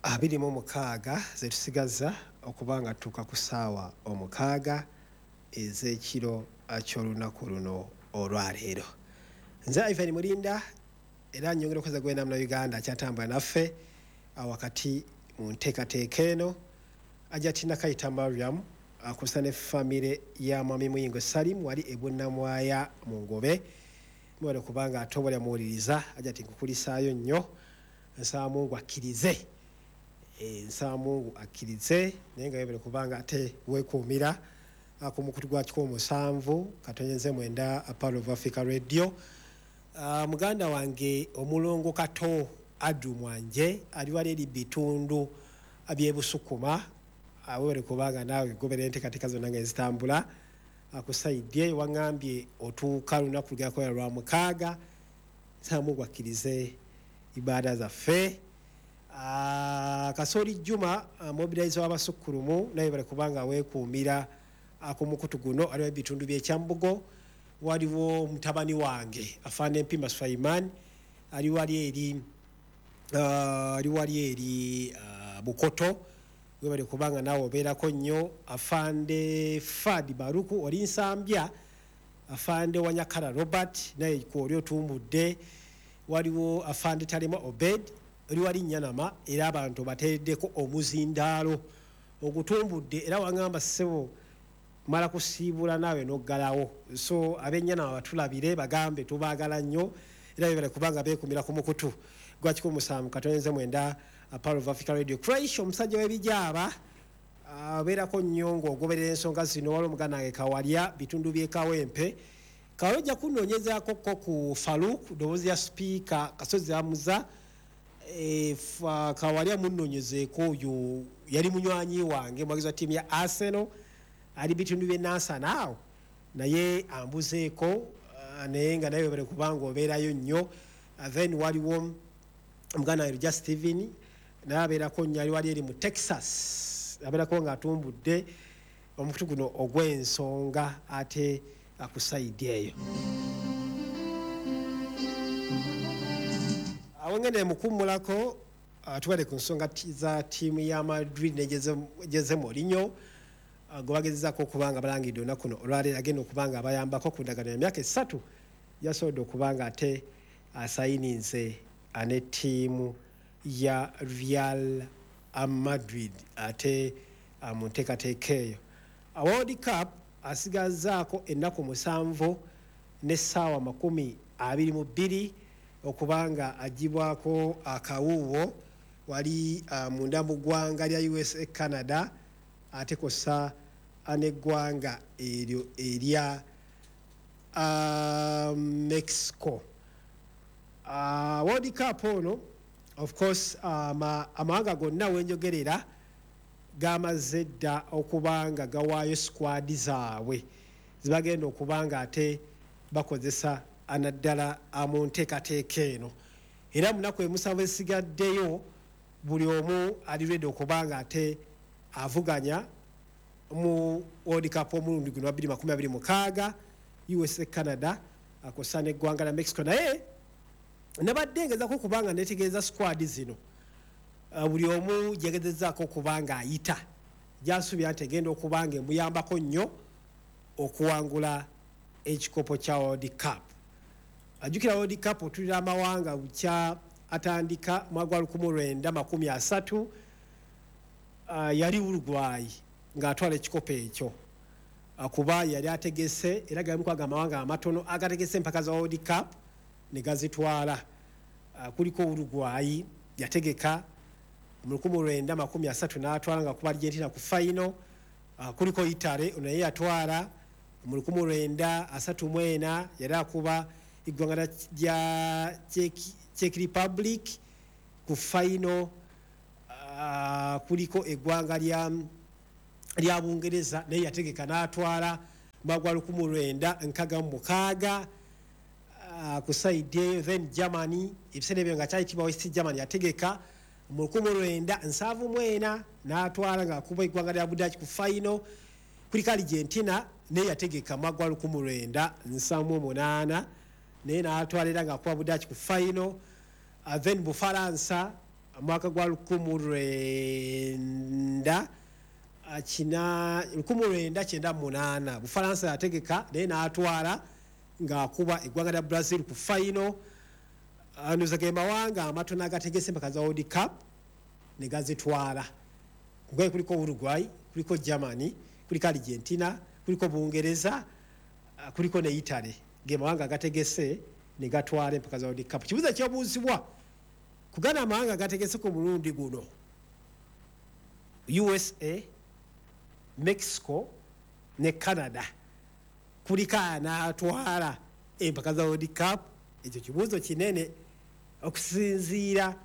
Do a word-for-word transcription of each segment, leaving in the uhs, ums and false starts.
abiri mu mukaaga zetusigaza okuba nga tutuuka ku ssaawa omukaaga ez'ekiro ky'olunaku luno olwaleero. Nze Ivan Mulinda, era nyongera okuza gwena muna Uganda akyatambula naffe wakati mu nteekateeka eno. Ajatina Kayita Mariam akusa ne famire ya Mwami Muyingo Salim wali e Bunnamwaya mu Ngobe, mwebale kubanga ate muwuliriza. Ajati nkukulisaayo nnyo, nsaba Mungu akkirize, nsaba Mungu akkirize, naye nga webale kubanga ate weekuumira ku mukutu gwa kikumi musanvu katonyenze mwenda Pearl of Africa Radio. Uh, muganda wange omulongo Kato Adu Mwanje ali wali eri bitundu by'Ebusukuma, webale kubanga naawe goberera enteekateeka zonna nga ezitambula akusaidye. Waŋŋambye otuuka lunaku lugenda kubeera lwa mukaaga, nsaba Mungu akkirize ibaada zaffe. Uh, Kasoli Juma uh, mobilizer w'abasukkulumu naye bale kubanga weekuumira ku mukutu guno, aliwo ebitundu by'Ekyambugo. Waliwo mutabani wange Afande Mpima Sulaiman ali wali eri uh, ali wali eri uh, Bukoto, webale kubanga naawe obeerako nnyo. Afande Fadi Baruku oli Nsambya, Afande Wanyakala Robert naye kwoli otumbudde. Waliwo Afande Talema Obed oli wali Nyanama, era abantu bateereddeko omuzindaalo ogutumbudde, era waŋŋamba ssebo mala kusiibula naawe n'oggalawo. So ab'Enyanama batulabire bagambe tubaagala nnyo, era bebale kubanga beekumira ku mukutu gwa kikumi musanvu katonze mwenda Pearl of Africa Radio. Crash omusajja w'ebijaaba abeerako nnyo ng'ogoberera ensonga zino. Waliwo omuganda wange Kawalya bitundu by'e Kawempe, Kawalya ojja kunoonyezaako ko ku Faruk ddoboozi ya sipiika Kasozi Amuza. E, Kawalya munnoonyezeeko, oyo yali munywanyi wange, muwagizi wa ttiimu ya Arsenal, ali bitundu by'e Nansana awo, naye ambuzeeko, naye nga naye webale kubanga obeerayo nnyo. Then waliwo omuganda wange Luja Steven naye abeerako nnyo, ali wali eri mu Texas, abeerako ng'atumbudde omukutu guno ogw'ensonga ate ku sayidi eyo. Awo ngende mukummulako, tubadde ku nsonga za ttiimu ya Madrid ne Jose Mourinho gwe bagezezaako okuba nga balangidde olunaku luno olwaleero agenda okuba nga abayambako ku ndagaano ya myaka esatu, yasobodde okuba nga ate asayininze ne ttiimu ya Real Madrid ate mu nteekateeka eyo. World Cup asigazzaako ennaku musanvu n'essaawa makumi abiri mu bbiri okuba nga aggyibwako akawuuwo wali munda mu ggwanga lya U S A, Canada ate kw'ossa n'eggwanga eryo erya uh, Mexico. Uh, World Cup ono of course amawanga um, gonna wenjogerera gamaze dda okuba nga gawaayo squad zaabwe zibagenda okuba nga ate bakozesa anaddala mu nteekateeka eno, era munaku emusanvu esigaddeyo buli omu ali ready okuba nga ate avuganya mu World Cup omulundi guno wa bbiri makumi abiri mukaaga U S A, Canada akosa n'eggwanga lya Mexico. Naye nabadde ngezaako okuba nga neetegereza squad zino, uh, buli omu gyegezezzaako okuba nga ayita gy'asuubira nti egenda okuba nga emuyambako nnyo okuwangula ekikopo kya World Cup. Ajjukira World Cup otulira amawanga bukya atandika mwaka gwa lukumi lwenda makumi asatu, uh, yali Uruguay ng'atwala ekikopo ekyo kuba yali ategese, era galimu kwaga amawanga amatono agategese empaka za World Cup ne gazitwala. Uh, kuliko Uruguay yategeka mu lukumi lwenda makumi asatu n'atwala nga kuba Argentina ku final. Uh, kuliko Italy naye yatwala mu lukumi lwenda asatu mu ena, yali akuba eggwanga lya Czech Republic ku final. Uh, kuliko eggwanga lya lya Bungereza naye yategeka n'atwala mwaka gwa lukumi lwenda nkaaga mu mukaaga uh, ku side eyo. Then Germany ebiseera ebyo nga kyayitibwa West Germany yategeka mu lukumi lwenda nsanvu mu ena n'atwala ng'akuba eggwanga lya Budaaki ku final. Kuliko Argentina naye yategeka mwaka gwa lukumi lwenda nsanvu mu munaana naye n'atwala era ng'akuba Budaaki ku final. Uh, then Bufalansa Mwaka gwa lukumu lwenda kina lukumu lwenda kyenda munaana Bufalansa yategeka, naye n'atwala ng'akuba eggwanga lya Brazil ku final. Ndowooza ge mawanga amatono agategese empaka za World Cup ne gazitwala. Kugaye kuliko Uruguay, kuliko Germany, kuliko Argentina, kuliko Bungereza, kuliko ne Italy. Ge mawanga agategese ne gatwala empaka za World Cup. Kibuuzo ekyobuuzibwa kugana amawanga agategese ku mulundi guno, U S A, Mexico ne Canada, kuliko anaatwala empaka za World Cup? Ekyo kibuuzo kinene okusinziira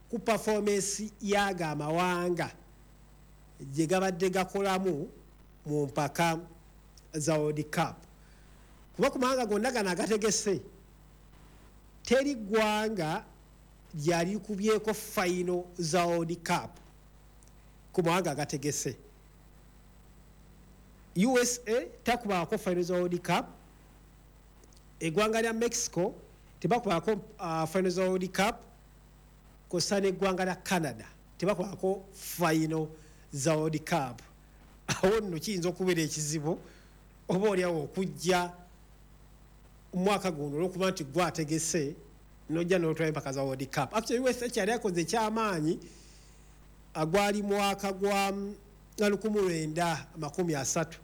ku performance y'ago amawanga gye gabadde gakolamu mu mpaka za World Cup, kuba ku mawanga gonna gano agategese teri ggwanga lyali likubyeko final za World Cup. Ku mawanga agategese, U S A takubaako final za World Cup, eggwanga lya Mexico tebakubaako uh, final za World Cup, kosa n'eggwanga lya Canada tebakubaako final za World Cup. Awo nno kiyinza okubeera ekizibu oba oliawo okujja omwaka guno olwokuba nti gwe ategese nojja n'otwala empaka za World Cup. Actually, U S A kyali akoze ekyamaanyi gwali mwaka gwa lukumi lwenda makumi asatu,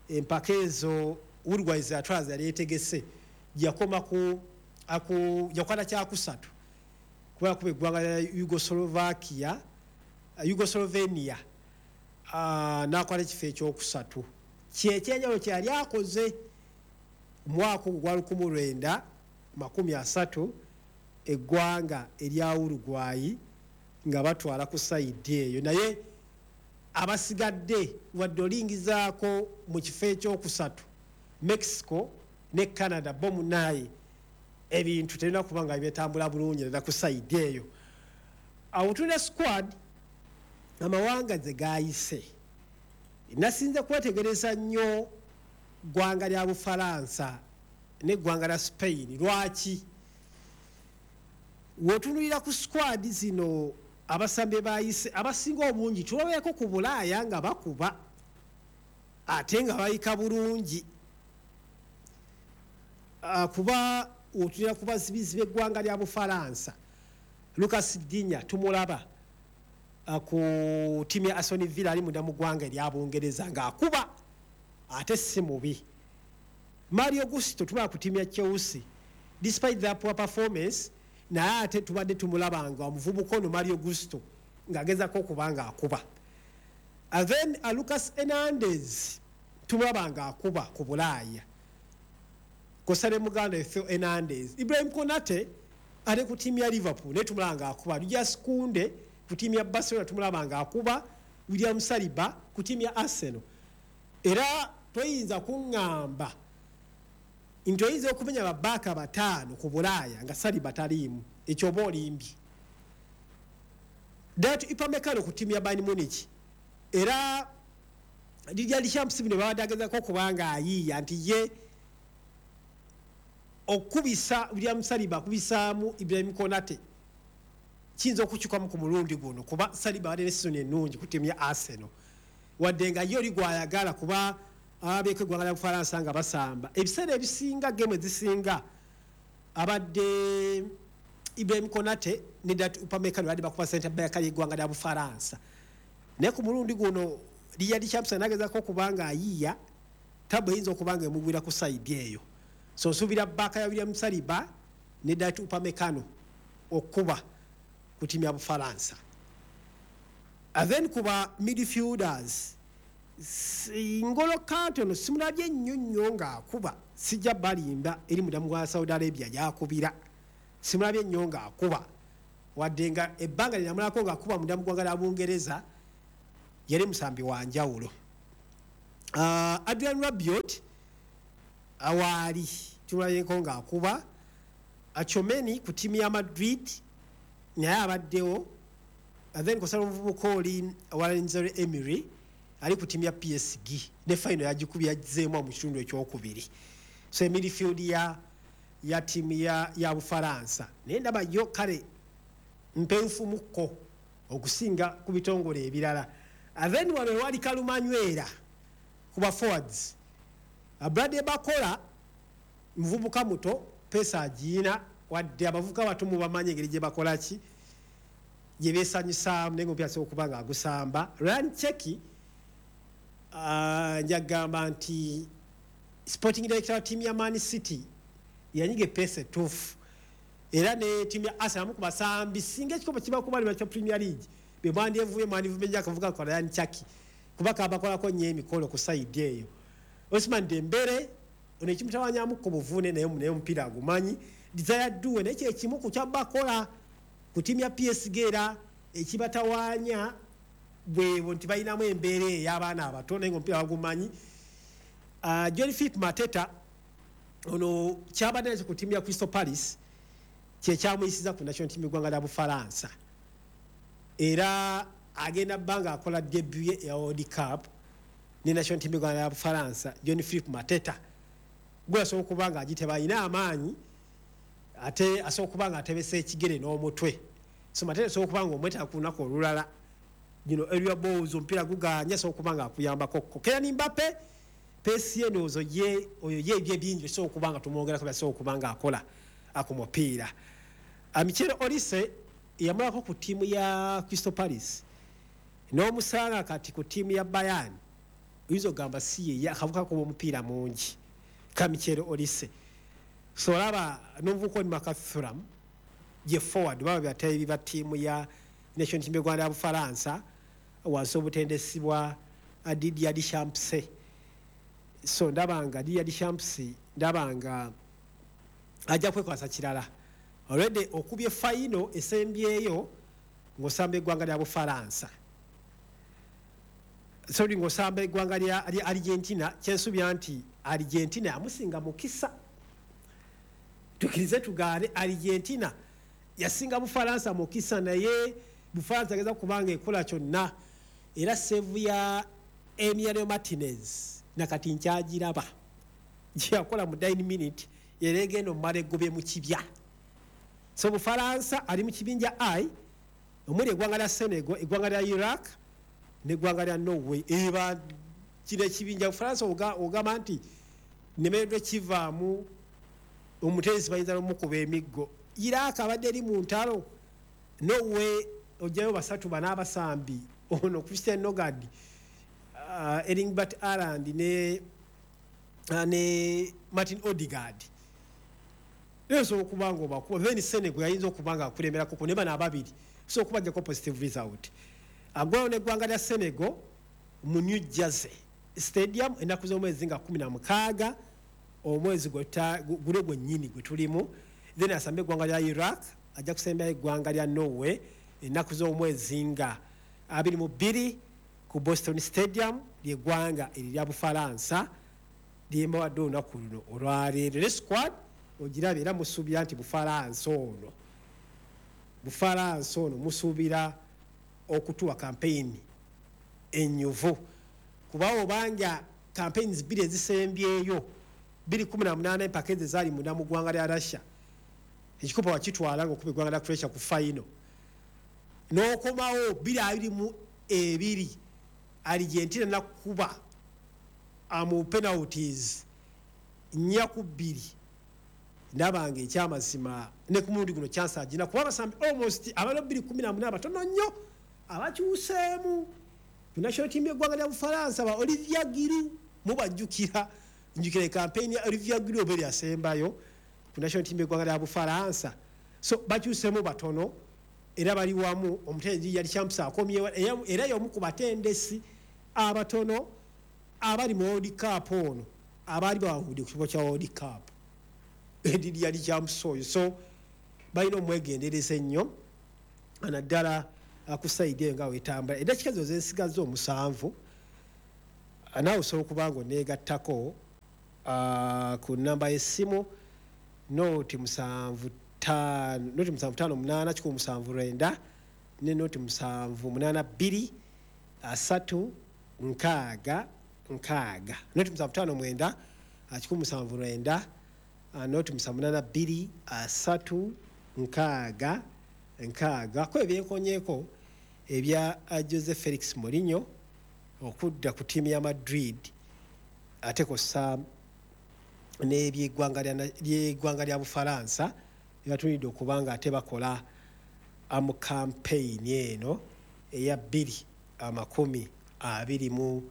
empaka ezo Uruguay zatwala yali etegese, yakoma ku aku yakwata kyakusatu kuba kuba eggwanga lya Yugoslovakia, Yugoslovenia, uh, n'akwata ekifo ekyokusatu. Kyekyenjawulo kyeyali akoze mwaka ogwo gwa lukumi lwenda makumi asatu, eggwanga erya Uruguay nga batwala ku side eyo. Naye abasigadde, wadde olingizaako mu kifo ekyokusatu Mexico ne Canada, bo munaye ebintu terina kuba nga byetambula bulungi era ku side eyo. Awo tulina squad amawanga ze gayise. Nasinze kwetegereza nnyo ggwanga lya Bufalansa n'eggwanga lya Spain. Lwaki? W'otunuulira ku squad zino, abasambi bayise abasinga obungi tulabeeko ku Bulaaya nga bakuba ate nga bayika bulungi. uh, kuba otunulira ku bazibizi b'eggwanga lya Bufalansa, Lucas Digne tumulaba uh, ku ttiimu ya Aston Villa, ali munda mu ggwanga erya Bungereza ng'akuba ate si mubi. Malo Gusto tumulaba ku ttiimu ya Chelsea, despite their poor performance, naye ate tubadde tumulaba nga omuvubuka ono Malo Gusto ng'agezako okuba ng'akuba. And then uh, Lucas Hernandez tumulaba ng'akuba ku Bulaaya, kosa ne muganda Theo Hernandez. Ibrahim Konate ali ku ttiimu ya Liverpool, naye tumulaba ng'akuba. Jules Kounde ku ttiimu ya Barcelona tumulaba ng'akuba. William Saliba ku ttiimu ya Arsenal. Era toyinza kuŋŋamba nti oyinza okumenya babaaka bataano ku Bulaaya nga Saliba taliimu, ekyo oba olimbye. Dayot Upamecano ku ttiimu ya Bayern Munich, era Didier Deschamps bino babadde agezako okuba nga ayiiya nti ye okubisa William Saliba akubisaamu Ibrahim Konate, kiyinza okukyukamu ku mulundi guno, kuba Saliba abadde ne season ennungi ku ttiimu ya Arsenal, wadde nga ye oli gwayagala, kuba ababeeko eggwanga lya Bufalansa nga basamba ebiseera ebisinga, game ezisinga abadde Ibrahim Konate ne Dayot Upamecano badde bakuba center back y'eggwanga lya Bufalansa. Naye ku mulundi guno Didier Deschamps anagezako okuba nga ayiiya tabu eyinza okuba nga emugwira ku side eyo. So nsuubira back ya William Saliba ne Dayot Upamecano okuba ku ttiimu ya Bufalansa. And then kuba midfielders, Ngolo Kante ono simulabye nnyo nnyo ng'akuba, sijja balimba, eri mudamu gwa Saudi Arabia gyakubira, simulabye nnyo ng'akuba, wadde nga ebbanga lyenamulako ng'akuba munda mu ggwanga lya Bungereza yali musambi wa njawulo. uh, adrian Rabiot awaali tumulabyeko ng'akuba. Tchouameni ku ttiimu ya Madrid naye abaddewo. And then kosala omuvubuka oli Warren Emery ali ku ttiimu ya P S G, ne final yagikubye, yazzeemu mu kitundu ekyokubiri. So emidfield ya ya ttiimu ya, ya Bufalansa naye ndaba yo kale mpenfumukko okusinga ku bitongole ebirala. Then wano ewali kalumanywera ku ba forwards, Bradley Bakola muvubuka muto, pace agiina, wadde abavubuka bato mubamanyi engeri gye bakola ki, gye beesanyusaamu, naye ngaomupiira asobola okuba nga agusamba. Rayan Cherki, njagamba nti sporting director wa ttiimu ya Man City yanyiga e pace etuufu, era ne ttiimu ya Arsenal amu ku basambi singa ekikopo kiba kubalibwa kya Premier League be mwandyevuye mwandivumenya akavuga ka Rayan Cherki, kuba kabakolako nnyo emikolo ku side eyo. Ousmane Dembele ono ekimutawanyamu ku buvune, naye naye omupiira agumanyi. Desire Doue naye kyekimu ku kyabakola ku ttiimu ya P S G, era ekibatawaanya bwebwo nti balinamu embeera ey'abaana abato, naye nga omupiira bagumanyi. uh, John Philip Mateta ono kyabadde nakyo ku ttiimu ya Crystal Palace kyekyamuyisiza ku national team eggwanga lya Bufalansa, era agenda bbanga akola debut ye eya World Cup ne national team eggwanga lya Bufalansa. John Philip Mateta gwe asobola okuba nga agiteba, alina amaanyi ate asobola okuba nga atebesa ekigere n'omutwe. So Mateta asobola okuba nga omwetaaga ku lunaku olulala, you area balls omupiira guganye, asobola okuba nga akuyambako. Kylian Mbappe pace ye ndowooza ye oyo ye ebyo ebingi osobola okuba nga tumwongerako byasobola okuba nga akola ku mupiira. Michael Olise yamulako ku ttiimu ya Crystal Palace n'omusanga kati ku ttiimu ya Bayern, oyinza okugamba si ye akavuka kuba omupiira mungi ka Michael Olise. So olaba n'omuvubuka oli Marcus Thuram ye forward, baba byateebi ba ttiimu ya national team y'eggwanga lya Bufalansa wansi obutendesi bwa Didier Deschamps. So ndaba nga Didier Deschamps ndaba nga ajja kwekwasa kirala. Already okubye final esembyeyo ng'osamba eggwanga lya Bufalansa, sorry, ng'osamba eggwanga lya lya Argentina. Kyensuubira nti Argentina yamusinga mukisa, tukirize tugaane, Argentina yasinga Bufalansa mukisa, naye Bufalansa ageza kubanga ekola kyonna. Era save ya Emiliano Martinez nakati nkyagiraba gyeyakola mu nine minute, era egenda omumala egobye mu kibya. So Bufalansa ali mu kibinja I omuli eggwanga lya Senegal, eggwanga lya Iraq neggwanga lya Norway. Eba kino ekibinja Bufalansa ogamba nti nemereddwa kivaamu, omutendesi bayinza nomukuba emiggo. Iraq abadde eri mu ntalo, Norway ojjayo basatu bana abasambi, ono Christian Norgaard, uh, Erling Braut Haaland ne, uh, ne Martin Odegaard, osobola okuba nga obakuba. Then Senegal yayinza okuba nga akulemberako ne bano ababiri, osobola okubajjako positive result. Agwayo neggwanga lya Senegal mu New Jersey Stadium ennaku z'omwezi nga kumi na mukaaga omwezi guno gwennyini gwe tulimu. Then asambe eggwanga lya Iraq, ajja kusembayo eggwanga lya Norway ennaku z'omwezi nga abiri mu bbiri ku Boston Stadium. Lyeggwanga erirya Bufalansa lyembawadde olunaku luno olwaleero ne squad ogiraba, era musuubira nti Bufalansa ono Bufalansa ono musuubira okutuwa campaign enyuvu, kuba obanga campaigns bbiri ezisembyeyo, bbiri kumi na munaana empaka ezo ezaali munda mu ggwanga lya Russia, ekikopo wakitwala ngaokuba eggwanga lya Croatia ku final, n'okomawo bbiri abiri mu ebiri Argentina nakuba mu penalties nnya ku bbiri. Ndaba nga ekyamazima ne ku mulundi guno chance agina, kuba abasambi almost abalo bbiri kumi na munaana batono nnyo abakyuseemu ku national team y'eggwanga lya Bufalansa. Ba Olivier Giroud mubajjukira, njukira campaign ya Olivier Giroud oba eryasembayo ku national team y'eggwanga lya Bufalansa. So bakyuseemu batono era bali wamu. Omutendesi yali Champs akomyewo, era y'omu ku batendesi abatono abali mu World Cup ono abaali bawangudde ku kifo kya World Cup, Didier Deschamps oyo. So balina omwegendereza ennyo naddala ku side eyo nga wetambula. Eddakiika zo zensigaza omusanvu, naawe osobola okuba nga oneegattako ku namba y'essimu noti musanvu ttaano noti musanvu ttaano munaana kikumi musanvu lwenda ne noti musanvu munaana bbiri asatu nkaaga nkaaga, noti musanvu ttaano mwenda kikumi musanvu lwenda, noti musanvu munaana bbiri asatu nkaaga nkaaga ko ebyenkonyeeko ebya Jose Felix Mourinho okudda ku ttiimu ya Madrid, ate kw'ossa n'ebyeggwanga lya lya Bufalansa byebatunulidde okuba nga ate bakola mu campaign eno eya bbiri amakumi abiri mu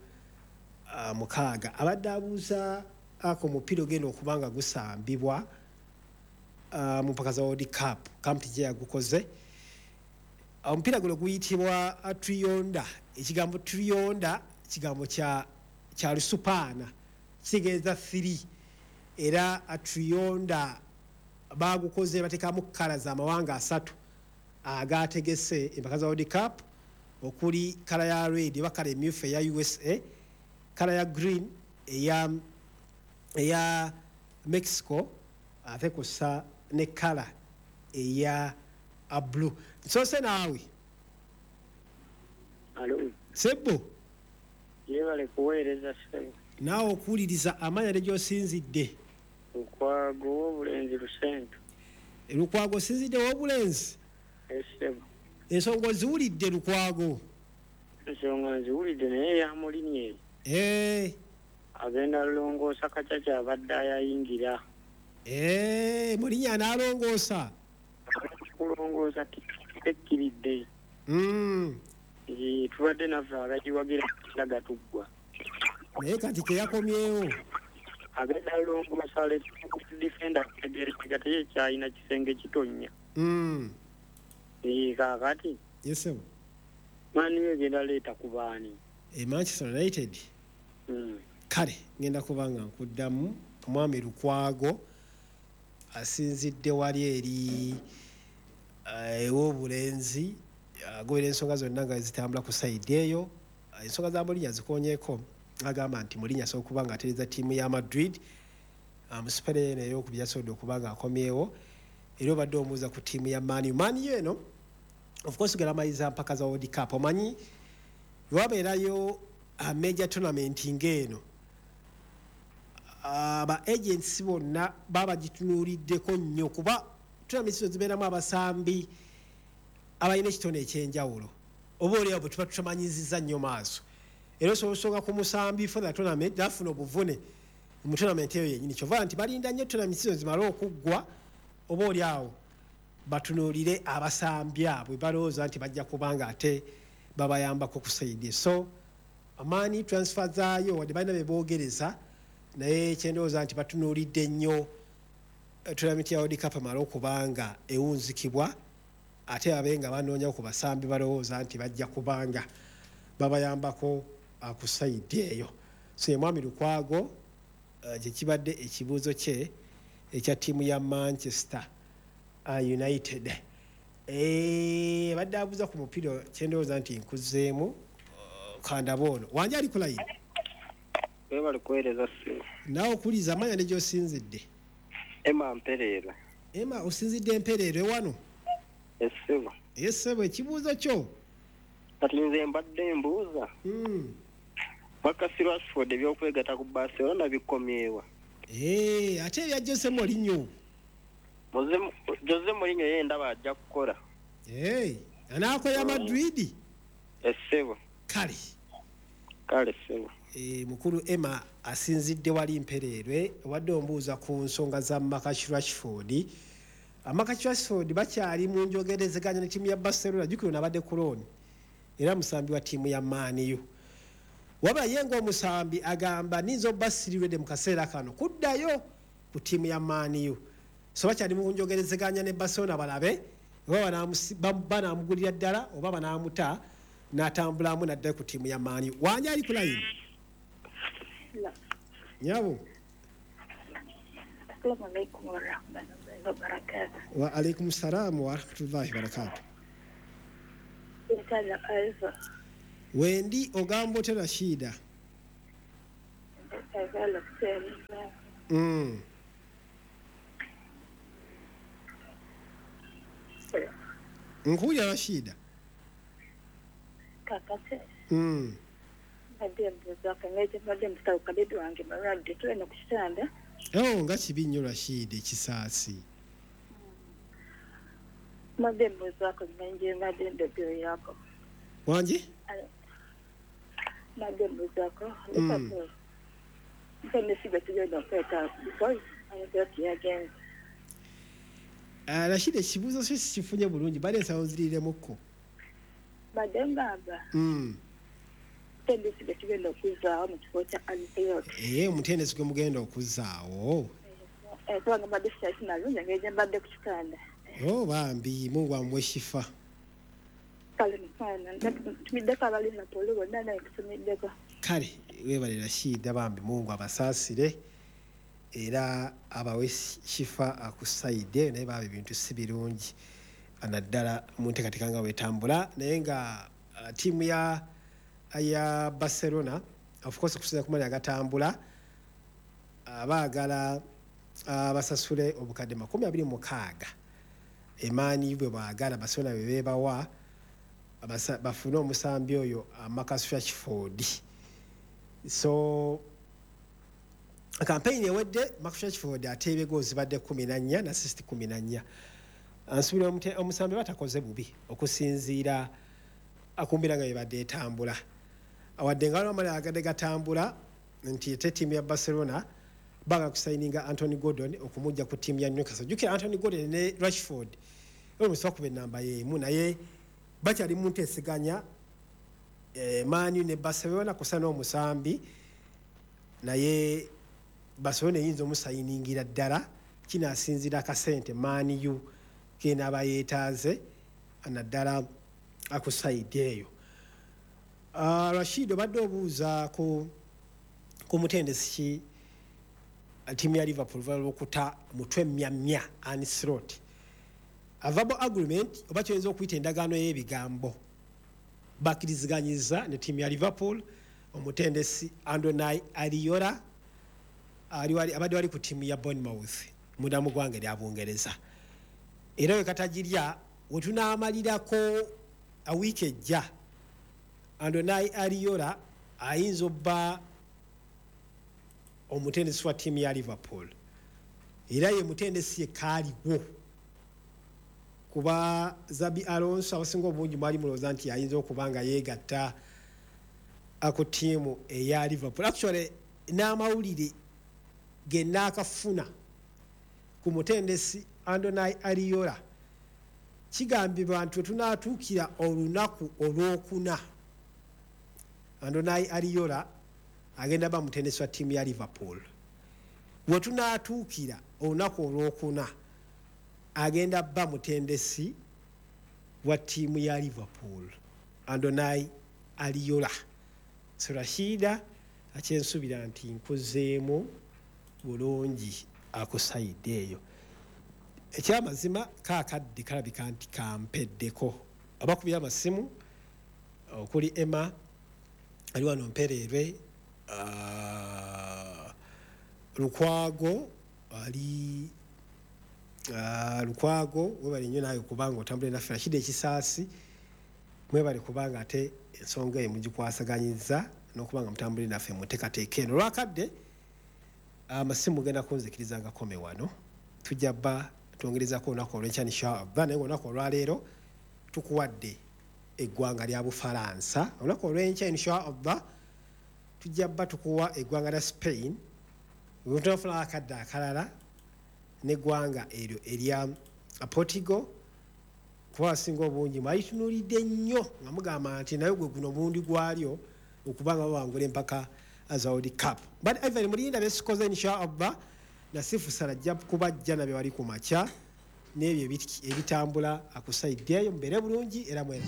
mukaaga. Abadde abuuza ako omupiira ogenda okuba nga gusambibwa mu mpaka za World Cup, kampi gye yagukoze. Omupiira guno guyitibwa Trionda. Ekigambo Trionda kigambo kya kya Lusupaana, kitegeeza three, era Trionda bagukoze bateekamu kkala z'amawanga asatu agategese empaka za World Cup, okuli kkala ya red oba kkala emyufu eya U S A, kkala ya green eya eya Mexico, ate kw'ossa ne kkala eya blue. Nsoose naawe. Alo. Sebbo. Yebale kuweereza ssebo. Naawe okuwuliriza amanya ne gy'osinzidde. Lukwago w'obulenzi Lusento. Lukwago osinzidde w'obulenzi? Ssebo. Ensonga oziwulidde Lukwago? Ensonga nziwulidde naye ya Mourinho. Eh. Agenda longoosa kacaca abadde ayayingira. Eh, Mourinho anaalongoosa? Kulongoosa tekkiridde. Mm. Eh, tubadde naffe abagiwagira kiraga tuggwa. Naye kati teyakomyewo. Agenda longoosa defender tegerekeka tekyalina kisenge kitonnya. Mm. Eh, kaakati. Yes, sir. Man U egenda leeta ku baani? Eh, Manchester United. Mm. Kale ngenda kuba nga nkuddamu omwami Lukwago asinzidde wali eri ew'obulenzi, agobera ensonga zonna nga zitambula ku sayidi eyo. Ensonga za Mourinho zikonyeeko, agamba nti Mourinho asobola okuba nga atereeza ttiimu ya Madrid mu sipere eno ey'okubiri yasobodde okuba nga akomyewo. Era obadde omubuuza ku ttiimu ya Man U. Man U eno of course gera maliza mpaka za World Cup, omanyi lwabeerayo major tournament ng'eno aba agents bonna baba gitunuuliddeko nnyo, kuba tournament zo zibeeramu abasambi abalina ekitone ekyenjawulo oba oliawo bwe tuba tutamanyizizza nnyo maaso. Era osobola osonga ku musambi for the tournament n'afuna obuvune mu tournament eyo yennyini. Kyova nti balinda nnyo tournament zo zimale okuggwa oba oliawo batunuulire abasambi abo balowooza nti bajja kubanga ate babayambako ku sayidi. So amaani transfer zaayo wadde balina be boogereza, naye kyendowooza nti batunuulidde nnyo tournament ya World Cup emale okubanga ewunzikibwa, ate babe nga banoonya ku basambi balowooza nti bajja kubanga babayambako ku sayidi eyo. So ye mwami Lukwago gye kibadde ekibuuzo kye ekya ttiimu ya Manchester United. Eh, badde abuuza ku mupiira kyendowooza nti nkuzeemu kandaba ono. Wanje ali ku layini? Webale kuweereza ssebo. Naawe okuwuliriza amanya ne gy'osinzidde. Emma Mpereerwe. Emma osinzidde Mpereerwe wano? Ssebo. Ssebo, ekibuuzo kyo? Kati nze mbadde mbuuza. Mm. Marcus Rashford ebyokwegatta ku Barcelona bikomyewa? Eh, ate ebya Jose Mourinho. Jose Mourinho ye ndaba ajja kukola. Eh, anaakoya Madrid? Ssebo. Kale. Kale ssebo. Eh, mukulu Emma asinzidde wali Mpereerwe, obadde ombuuza ku nsonga za Marcus Rashford. Marcus Rashford bakyali mu njogerezeganya ne ttiimu ya Barcelona, jjukira ono abadde ku loan era musambi wa ttiimu ya Man U. Wabula ye ng'omusambi agamba nninza obbasirirwedde mu kaseera kano kuddayo ku ttiimu ya Man U. So bakyali mu njogerezeganya ne Barcelona balabe oba banaamugulira ddala oba banaamuta n'atambulamu n'addayo ku ttiimu ya Man U. Wanje ali ku layini? Nyabo. Assalamu alaikum warahmatullahi wabarakatuh. Wa alaikum salam wa rahmatullahi wa barakatuh. Wendi ogamba otya Rashida? Mm. Nkuwulira Rashida. Kakati. Mm. Mbadde mbuuza kang'eje mbadde mbuuza kadede wange mulwadde tuli ku kitanda. Oh, nga kibi nnyo Rashida ekisaasi. Mbadde mbuuzaako nje mbadde ndogererako. Wangi? Mbadde mbuuzaako Liverpool. Mutendesi gwe tugenda okwetaaga because Ancelotti yagenze. Ah, Rashida, ekibuuzo kyo sikifunye bulungi, mbadde nsaba onziriremukko. Mbadde ngamba Mm. mutendesi gwe tugenda okuzzaawo mu kifo kya Ancelotti. Ee, omutendesi gwe mugenda okuzzaawo. Eh, kubanga mbadde sikyakina bulungi engeri gye mbadde ku kitanda. Oh, bambi, Mungu amuwe shifa. Kale mukwano, ntumiddeko aba Liverpool bonna naye nkutumiddeko. Kale weebale Rashida, bambi Mungu abasaasire era abawe shifa akusayidde, naye baba ebintu si birungi naddala mu nteekateeka nga bwetambula, naye nga uh, ttiimu ya ya Barcelona of course okusinziira ku mali agatambula abaagala basasule obukadde makumi abiri mu mukaaga emaani bwe baagala Barcelona bwe beebawa bafune omusambi oyo Marcus Rashford. So campaign ewedde Marcus Rashford ateebye goals zibadde kkumi na nnya na assist kkumi na nnya. Ansuubira omusambi batakoze bubi okusinziira akumbira nga bebadde etambula. Awadde nga waliwo amali agadde gatambula nti ate ttiimu ya Barcelona baagala kusayininga Anthony Gordon okumujja ku ttiimu ya Newcastle. Jjukira Anthony Gordon ne Rashford omusi bakuba ennamba y'emu, naye bakyali mu nteeseganya eh, Man U ne Barcelona kusa n'omusambi, naye Barcelona eyinza omusayiningira ddala kinaasinziira akasente Man U kenaaba yeetaaze naddala akusayidi eyo. Uh, Rashid, obadde obuuza ku ku mutendesi ki ttiimu ya Liverpool lwokuta mutwe mmyammya Ancelotti. A verbal agreement oba kyoyinza okuyita endagaano y'ebigambo bakkiriziganyiza ne ttiimu ya Liverpool. Omutendesi Andoni Iraola abadde wali ku ttiimu ya Bournemouth munda mu ggwanga erya Bungereza, era we katagirya we tunaamalirako wiiki ejja Andoni Iraola ayinza obba omutendesi wa ttiimu ya Liverpool, era ye mutendesi yekka aliwo kuba Xabi Alonso abasinga obungi mwali mulowooza nti ayinza okuba nga yeegatta ku ttiimu eya Liverpool. Actually n'amawulire ge naakafuna ku mutendesi Andoni Iraola kigambibwa nti wetunaatuukira olunaku olwokuna Andoni Iraola agenda ba mutendesi wa ttiimu ya Liverpool. Wetunaatuukira olunaku olwokuna agenda ba mutendesi wa ttiimu ya Liverpool Andoni Iraola. So Rashida, akyensuubira nti nkuzeemu bulungi akusayidde eyo. Ekyamazima kaakadde kalabika nti kampeddeko. Abakubira amasimu okuli Emma ali wano Mpereerwe, uh, Lukwago ali uh, Lukwago webale nnyo naawe kubanga otambule naffe. Rashida Ekisaasi mwebale kubanga ate ensonga eyo mugikwasaganyizza n'okubanga mutambule naffe muteekateeka eno. Olwakadde amasimu genda kunzikiriza nga kome wano, tujja bba twongerezako olunaku olw'enkya inshallah, naye olunaku olwaleero tukuwadde eggwanga lya Bufalansa. Olunaku olw'enkya inshallah tujja bba tukuwa eggwanga lya Spain, wetunafuna akadde akalala n'eggwanga eryo erya Portugal, kuba abasinga obungi mwalitunuulidde nnyo nga mugamba nti naye gwe guno omulundi gwalyo okuba nga bawangula empaka za World Cup. But Ivan Mulinda besikoze inshallah nasifu salajja kubajja nabye wali ku makya n'ebyo ebitambula akusayiddeeyo mubeere bulungi era mwera.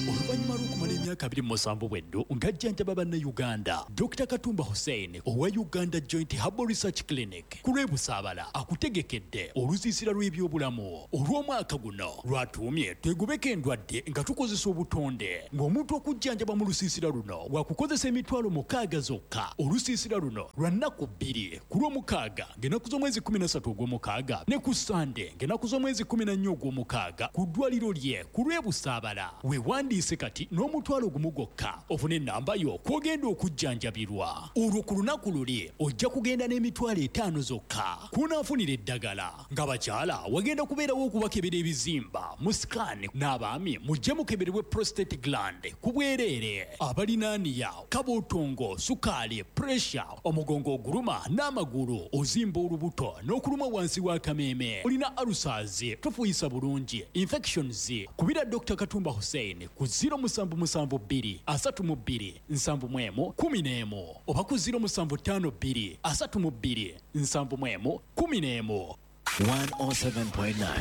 Oluvannyuma lw'okumala emyaka abiri mu musanvu bweddo ng'ajjanjaba bannayuganda, Dokita Katumba Hussein owa Uganda Joint Herbal Research Clinic ku lw'e Busaabala akutegekedde olusiisira lw'ebyobulamu olw'omwaka guno lwatuumye twegobeko endwadde nga tukozesa obutonde. Ng'omuntu okujjanjaba mu lusiisira luno wakukozesa emitwalo mukaaga zokka. Olusiisira luno lwa nnaku bbiri, ku lw'omukaaga ng'ennaku z'omwezi kkumi na ssatu ogw'omukaaga ne ku Sande ng'ennaku z'omwezi kkumi na nnya ogw'omukaaga ku ddwaliro lye ku lw'e Busaabala. Weewandiise Weewandiise kati n'omutwalo gumu gwokka ofune ennamba yo kw'ogenda okujjanjabirwa. Olwo ku lunaku luli ojja kugenda n'emitwalo etaano zokka kw'onaafunira eddagala. Nga bakyala wagenda kubeerawo okubakebera ebizimba mu scan, n'abaami mujje mukeberebwe prostate gland ku bwereere. Abalinaaniya, kabootongo, sukaali, pressure, omugongo oguluma n'amagulu, ozimba olubuto n'okuluma wansi w'akameeme, olina ulcers, tofuuyisa bulungi, infections, kubira Doctor Katumba Hussein ku zero musanvu musanvu bbiri asatu mu bbiri nsanvu mu emu kumi n'emu oba ku zero musanvu ttaano bbiri asatu mu bbiri nsanvu mu emu kumi n'emu. one oh seven point nine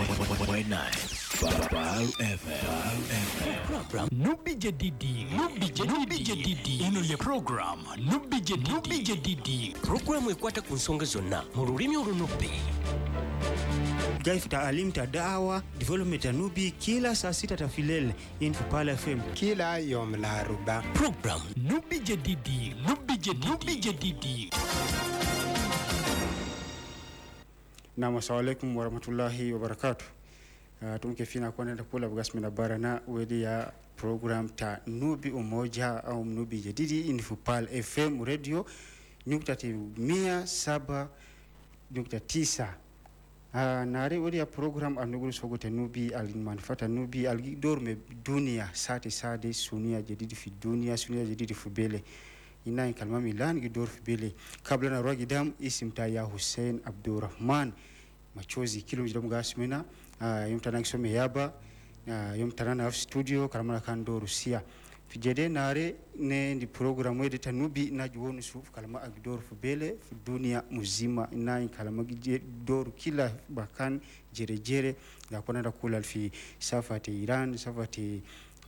Pearl F M. Nubi Jedidi, Nubi Jedidi, eno ye program Nubi Jedidi, Nubi Jedidi, programu ekwata ku nsonga zonna mu lulimi Olunubbi. Gaifu taalim ta da'awa development ya Nubi kila saa sita tafilele in Pearl F M kila yom la ruba. Program Nubi Jedidi, Nubi Jedidi, Nubi Jedidi. Na assalamu alaikum warahmatullahi wabarakatuh. Uh, tumkefina kwa nenda kula bugasmi na barana wedi ya program ta Nubi Umoja au Nubi Jedidi in Pearl F M radio nukta mia saba nukta tisa. Uh, nare wedi ya program alnuguru sogote Nubi almanfata Nubi algidor me dunia sate sade sunia jedidi fi dunia sunia jedidi fi bele ina kalma milan gidor fi bele kabla na rwagidam isimta ya Hussein Abdurrahman machozi kilo mjidamu gasmina uh, yomtana kisome yaba uh, yomtana na studio kalama kando Rusia fijede nare ne ndi program wedi tanubi na juonu suf kalama agdor fi bele fi dunia muzima ina kalama gidor kila bakan jere jere na kona kula fi safati Iran safati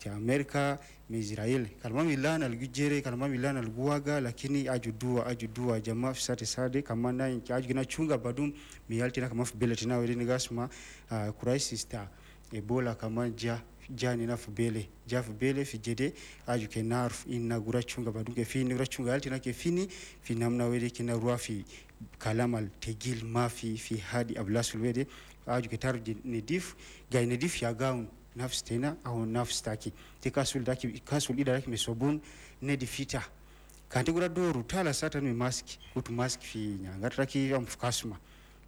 ya Amerika me Israel kalama milan algijere kalama milan alguaga lakini ajudua ajudua jamaa sate sade kama na ajugina chunga badum miyaltina kama fi bele tina wedi gasma uh, crisis ta Ebola kama ja jani na fubele ja fubele fijede ajuke narf inagura chunga badunge fini gura chunga altina ke fini finamna wede kina ruafi kalamal tegil mafi fi hadi ablasul wede ajuke tarji nedif gay nedif ya gaun nafs tena au nafs taki te kasul daki kasul ida daki mesobun nedifita kanti gura doru tala sata mi mask kutu mask fi nyanga traki am fukasma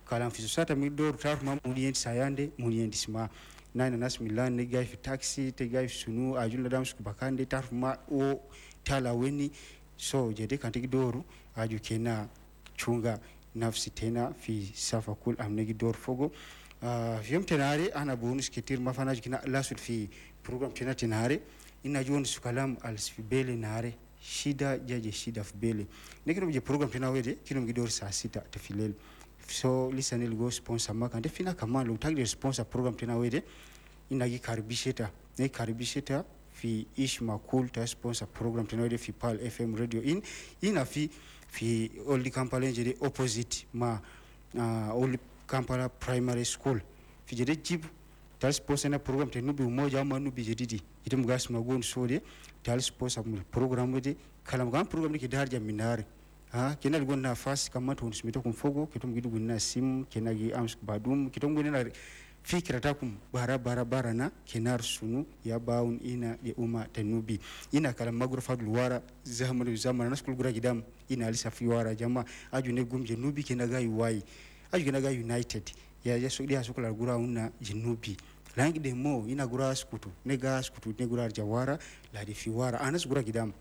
kalam fi sata mi doru tar ma munien sayande munien disma nine nas milan ne gay fi taxi te gay fi sunu ajula dam sku bakande tar ma o tala weni so jede kanti doru aju kena chunga nafsi tena fi safa kul amnegi dor fogo uh, yom tenare ana bonus ketir mafana kina lasul fi program tena tenare ina jon sukalam al sfibele nare shida jaje shida fibele nekino je program tena wede kino gidor saa sita tefilel so listen go sponsor makande fina kama lo tag sponsor program tena wede ina gi karibisheta ne karibisheta fi ish makul ta sponsor program tena wede fi Pearl F M radio in ina fi fi Old Kampala jede opposite ma uh, Old Kampala Primary School fi jede jib tal sponsor na program te Nubi Umoja ama Nubi Jedidi ite mugas magon sode tal sponsor program wede kalam gam program ki darja minare ha kena ligon nafasi kama tunismito kumfogo kitum gidu gunna sim kena gi ams badum kitum gunna fikra takum bara bara bara na kenar sunu ya baun ina ya umma tanubi ina kala magro fadul wara zamanu zamana naskul gura gidam ina alisa fi wara jama aju ne gumje nubi kena ga yuwai aju kena ga united ya ya so dia sokula gura una jinubi langi de mo ina gura skutu ne ga skutu ne gura jawara la de fi wara anas gura gidam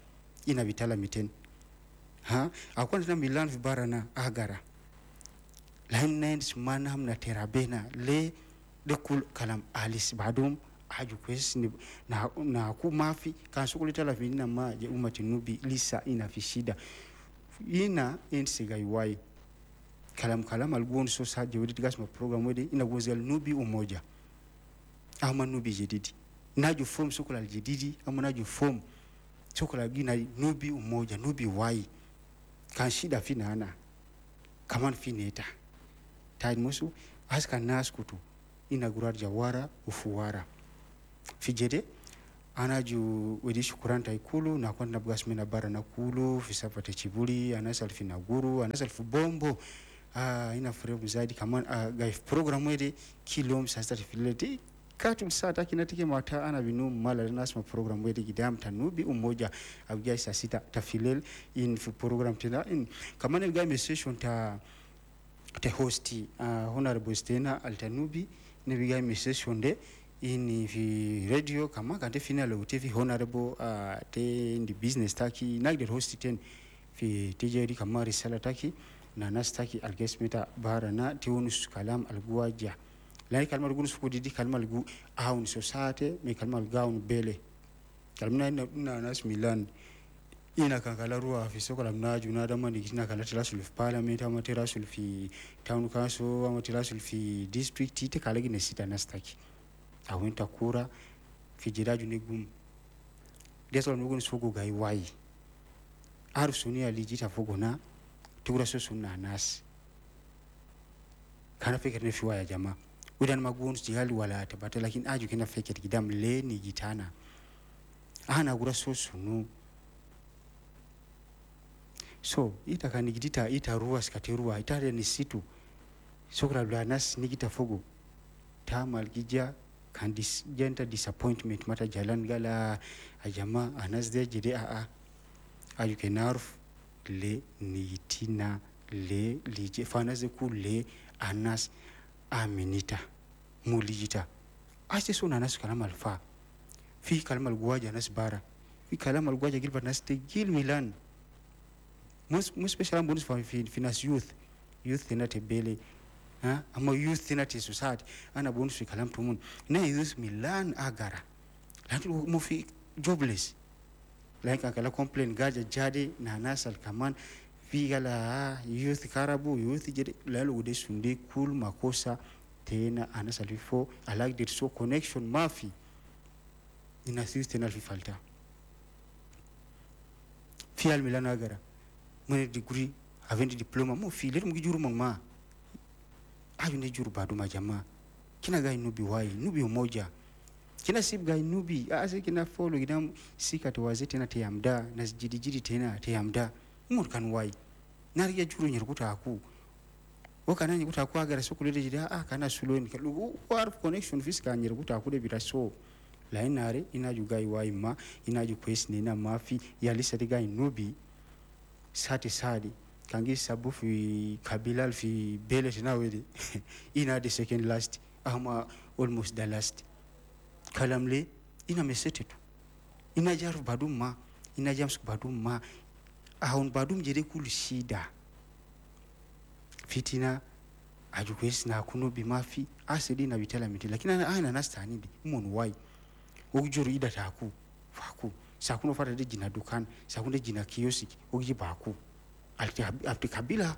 ina bitala miten ha akwana na milan fi barana agara lan nens manam na terabena le de kul kalam alis badum aju kwes ni na na ku mafi kan sukulita la vinna ma je umati nubi lisa ina fi shida ina insiga yuwai kalam kalam algon so sa je wedi gas ma program wedi ina gozel Nubi Umoja ama Nubi Jedidi naju form sukula jedidi ama naju form sukula gina Nubi Umoja Nubi wai kan shida fina ana kaman fineta tayid musu aska naskutu ina gurar jawara ufuwara fijede anaju wedi shukuranta ikulu na kwanda bugasmina bara na kulu fisapate chibuli anasal finaguru anasal fubombo ah ina fure mzaidi kaman ah, gaif program wedi kilom sasa filete Katu saa kina tike mata ana binu mala nasma program wedi gidam tanubi umoja abuja saa sita tafilel in fi program tena in kamane ga session ta te hosti uh, honorable Stena Altanubi ne biga session de in fi radio kama kante final T V honorable uh, te in the business taki nagde hosti ten fi T J D kama risala taki na nas taki algesmita barana tiunus kalam alguaja lai kalmar gunus ko didi kalmal gu aun society me kalmal gaun bele kalmna na nas Milan ina kankala ruwa fi sokola mnaju na dama ni kina kala tirasul fi parliament ama tirasul fi town council ama tirasul fi district te kala gine sita nastaki awenta kura fi jiraju ne gum desol nugun sogo gai wai aru sunia lijita fogona tugura so sunna nas kana fikir ne fi waya jama udan magun jihali wala tabata lakin aju kina fikir gidam le ni gitana ana gura so sunu so ita kanigidita ita ruwa skateruwa ita ni situ sokra blanas nigita fogo tamal gija kan dis genta disappointment mata jalan gala ajama anas de jide a a aju kenarf le nitina le lije fanas ku le anas aminita mulijita ase sona anas kalamal fa fi kalamal guwaja anas bara fi kalamal guwaja gilba nas te gil milan mus mus special bonus for fi nas youth youth na te bele ha ama youth na te society ana bonus fi kalam tumun na youth milan agara lati mo fi jobless like akala complain gaja jade na nasal kaman fi gala youth karabu youth jede lalo de sunde cool makosa tena anasal fo alike there so connection mafi ina youth tena fi falta fi al milan agara mene degree avendi diploma mo fi letu mugijuru mama ayu ne juru badu majama kina gai nubi wai nubi umoja kina sib gai nubi ase kina follow gidam sika to wazete na teyamda na jidijidi tena teyamda umur kan wai nari ya juru nyerkuta aku wakana nyerkuta aku agara sokulele jida ah kana suloni kalugu war connection fiska nyerkuta aku de biraso lainare inaju gai wai ma inaju kwes nina mafi yalisa de gai nubi sati sadi kangi sabu fi kabila fi bele na wedi ina the second last ama almost the last kalamle ina mesete tu ina jaru badum ma ina jams badum ma ahon badum jere kul shida fitina ajukwes na kuno bi mafi asedi na bitala miti lakini ana ana nastani mon wai okjuru ida taku faku sakuno fata de jina dukan sakuno jina kiosk ogibaku alti alti kabila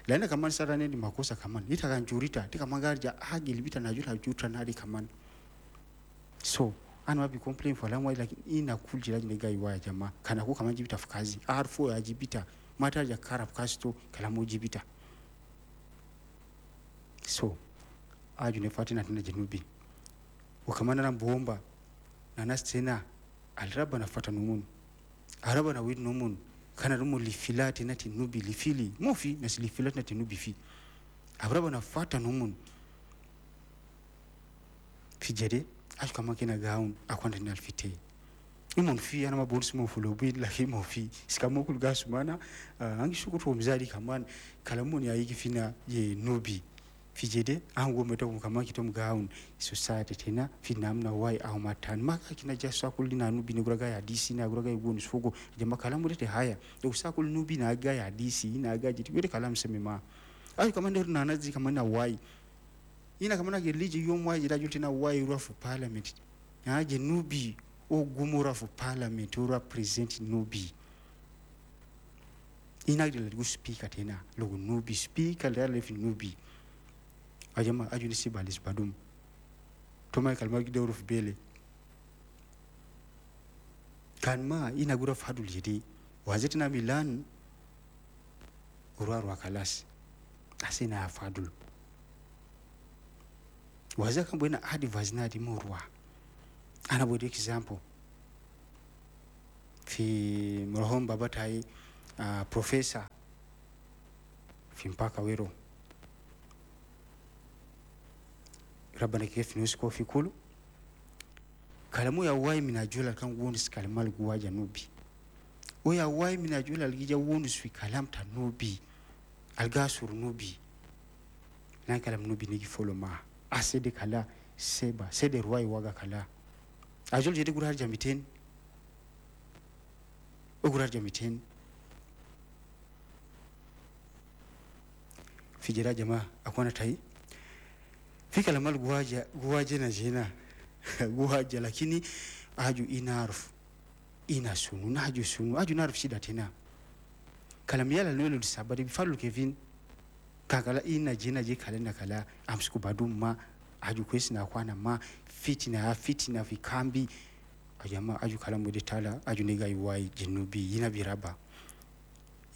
lana kaman sarane ni makosa kaman ita kan jurita tika magarja hagilibita na jura juta na di kaman so ana wabi complain for lamwa like ina kuljira ne gai waya jama kana ko kaman jibita fukazi arfo ya jibita mata ja karab kasto kalamo jibita so aju ne fatina tana janubi wakamana na bomba na nastena alraba na fata numun araba na wid numun kana rumu lifilati na tinubi lifili mofi na silifilati na tinubi fi araba na fata numun fijede ash kama kina gaun akwanda ni alfite imon fi ana mabonus mo fulobi lakini mo fi sikamo kulgasu mana angi shukutu mzali kaman kalamuni ayiki fina ye nubi fijede ango meta kama kitom gaun society tena finamna wai au matan maka kina jaswa kulina nubi ne guraga ya D C na guraga iboni sugo jama kalamu te haya usakul nubi na ga ya D C na ga jiti wede kalamu semema ayo kama ndo na nazi kama na wai ina kama na geliji yom wai jira jutina wai ruwa for parliament na je nubi o gumura for parliament o represent nubi ina gele speaker tena logo nubi speaker le nubi ajama ajuni sibalis badum to Michael Magide ruf bele kan ma ina gura fadul jidi wazetina Milan urarwa kalas asina fadul wazaka mbona advice na di morwa ana bodi example fi mrohom babatai uh, professor fi mpaka wero Rabbana kif nusko fi kulu kalamu ya wai minajula kan wonus kalamal guwaja nubi oya wai minajula algija wonus fi kalam ta nubi algasur nubi nan kalam nubi nigi follow ma asede kala seba sede ruwai waga kala ajol jede gurar jamiten ugurar jamiten fijira jama akwana tai fi kalamal guwaja guwaje na jena guwaja lakini aju inaruf ina sunu na aju sunu aju naruf shida tena kalam yala nolo sabari bifalu Kevin kakala ina jena je kalenda kala amsiku baduma aju kwesi na kwana ma fitina fitina fikambi ajama aju kalamu de tala aju nega iwai jinubi yina biraba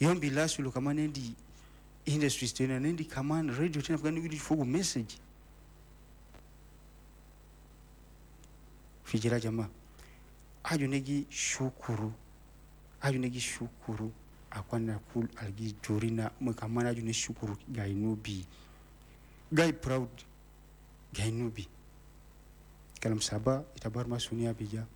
yombi lasulu kama nendi industries tena nendi kaman radio tena fugani wili fogu message fijira jama aju negi shukuru aju negi shukuru akwana kul algi jorina mkamana aju ne shukuru gainubi gai proud gainubi kalam saba itabar masunia bija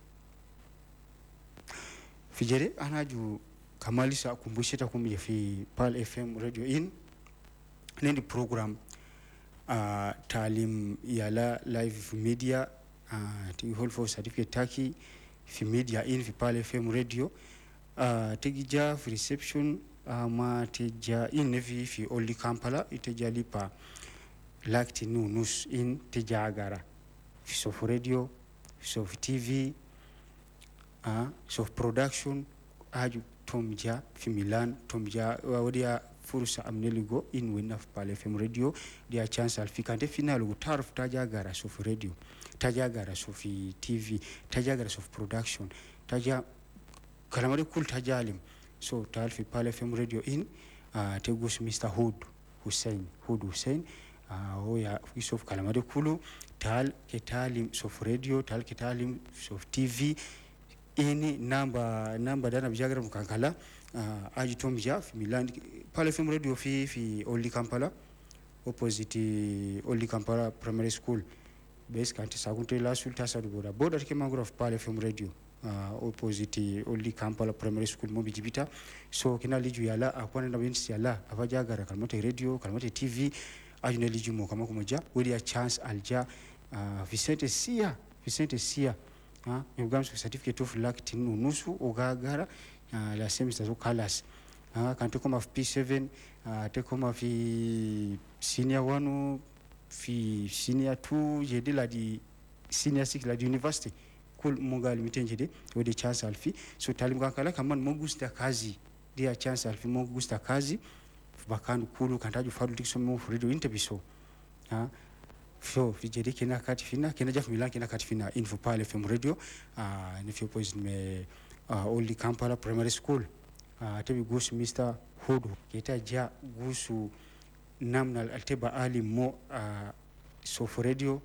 fijere anaju kamalisa kumbushita kumje fi Pearl F M Radio in nendi program uh, talim yala live media uh, ti hold for certificate taki fi media in fi Pearl F M Radio uh, tegija fi reception uh, ma teja in fi fi Oli Kampala iteja lipa lakti nunus in teja agara fi sof radio fi sof T V uh, sof production aju tomja fi Milan tomja wadia fursa amneligo in winna fi Pearl F M radio dia chance alfikante final go tarf taja gara sof radio taja gara sof T V taja gara sof production taja kalamare kul tajalim so tal fi Pearl F M radio in uh, tegus Mister Hood Hussein Hood Hussein uh, oya sof kalamare kulu tal ketalim sof radio tal ketalim sof T V ini namba namba dana bijagra mukankala uh, aji tomja fi Milan Pearl F M radio fi fi Oli Kampala opposite Oli Kampala Primary School base kanti sakunte la sulta sadu boda boda ke mangro of Pearl F M radio uh, opposite Oli Kampala Primary School mo bijibita so kina liju yala akwana na winsi yala abajagara kalmote radio kalmote T V aji ne liju mo kama kumoja wedi a chance alja uh, Vicente Sia Vicente Sia ah yogamsu certificate of luck tinu nusu ogagara uh, la semester zo colors ah kan te koma P seven uh, te koma fi senior one fi senior two jede la di senior six la di university kul munga limiten jede wodi chance alfi so talim kankala kaman mogusta kazi dia chance alfi mogusta kazi bakanu kulu kantaju fadu dikso mo radio interview ah so fijeri kina kati fina kina jaf Milan kina kati fina info Pearl F M radio ah uh, ni fi opposite me uh, Oli Kampala Primary School uh, tebi gusu Mister Hood kita ja gusu namna alteba ali mo uh, sof radio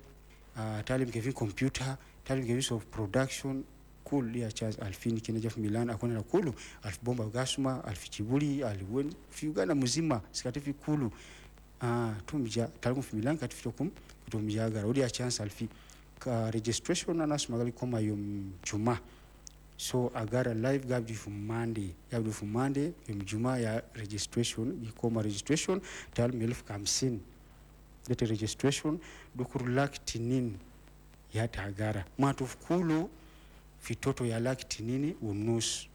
uh, talim kevi computer talim kevi sof production kul ya Charles alfini kina jaf Milan akona na kulu alf bomba gasuma alf chibuli alwen fi Uganda muzima sikati fi kulu ah tumja talim fi Milan kati fitokum tumja gara odi a chance alfi ka registration na nasmagali koma yom juma so agara live gabdi fu Monday gabdi fu Monday yom juma ya registration gikoma registration tal melf kamsin dete registration dukur lak tinin ya tagara matufkulu fitoto ya lak tinini unus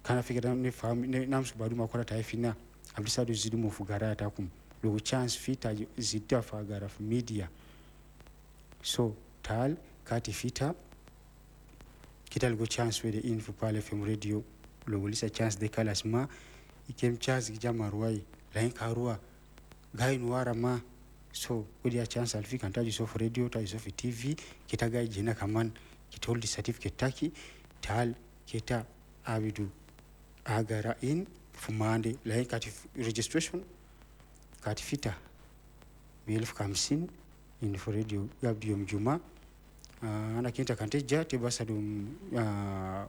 kana fikira ne fam ne namsu baduma kora taifina abisadu zidumo fugara takum lo chance fita zidda fagara media so tal kati fita kital go chance with the info Pearl F M radio lo lisa chance de kalas ma ikem chance gijama ruwai lain karua gai nuara ma so kodi chance alfi kantaji sof radio taji sof T V kita gai jina kaman kitoldi certificate taki tal kita abidu agara in fumande lain kati registration kati fita elfu hamsini info radio gabdi yom juma uh, ana kinta kanteja tebasadum uh,